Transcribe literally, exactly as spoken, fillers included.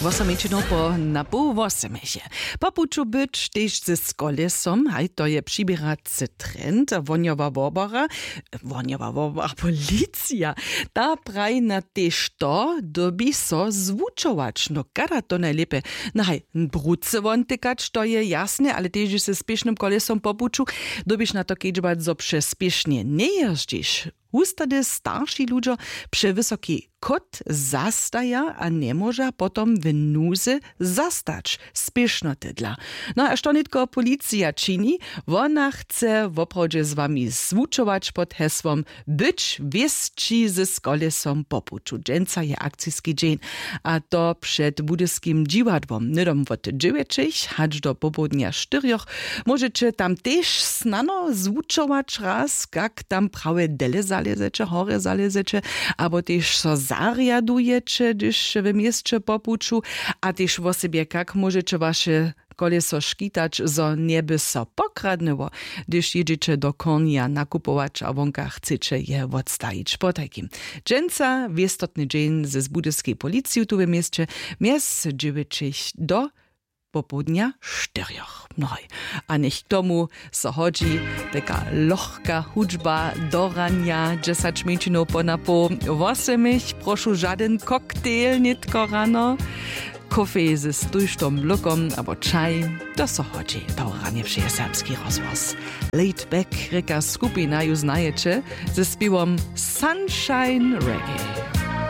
Wosomećinow po na poł wosemeše. Po puću być tež z kolesom, haj, to je přiběracy trend. Wohnjowa wobora, wohnjowa wobora, policija, ta praji na tež to, dyrbi so zwučować. No kada to najlěpje? No haj, brucy won tykać, to je jasne, ale tež z spěšnym kolesom po puću dyrbiš na to kedźbać, zo přespěšnje njejězdźiš. Hustady starši ludźo přewysokej kot zastaja a njemóža potom w nuzy zastać spěšnotydla. No a što nětko policija čini? Wona chce woprawdźe z wami zwučować pod hesłom być wěsći z kolesom po puću. Dźensa je akciski dźeń, a to před budyskim dźiwadłom hnydom wot dźewjećich hač do popołdnja štyrjoch. Móžeće tam tež snano zwučować raz, kak tam prawje dele zalězeće, horje zalězeće, abo tež so zarjadujeće, hdyž w měsće po puću, a tež wosebje, kak móžeće waše koleso škitać, zo njeby so pokradnyło, hdyž jědźeće do kornja nakupować a wonka chceće je wotstajić. Potajkim dźensa wěstotny dźeń z budyskej policiju tu w měsće, mjez dźewjećich do popołdnja štyrjoch. Nohoj, a něch k tomu so hodźi teka lochka hudźba do ranja, dźesać mjeńšinow po na poł wosomich. Prošu, žadyn koktejl nětko rano, kofej z tójšto mlókom abo čaj. To so hodźi do ranje. Wšě je serbski rozhłos. Laid Back rěka skupina, ju znajeće, ze spěwom Sunshine Reggae.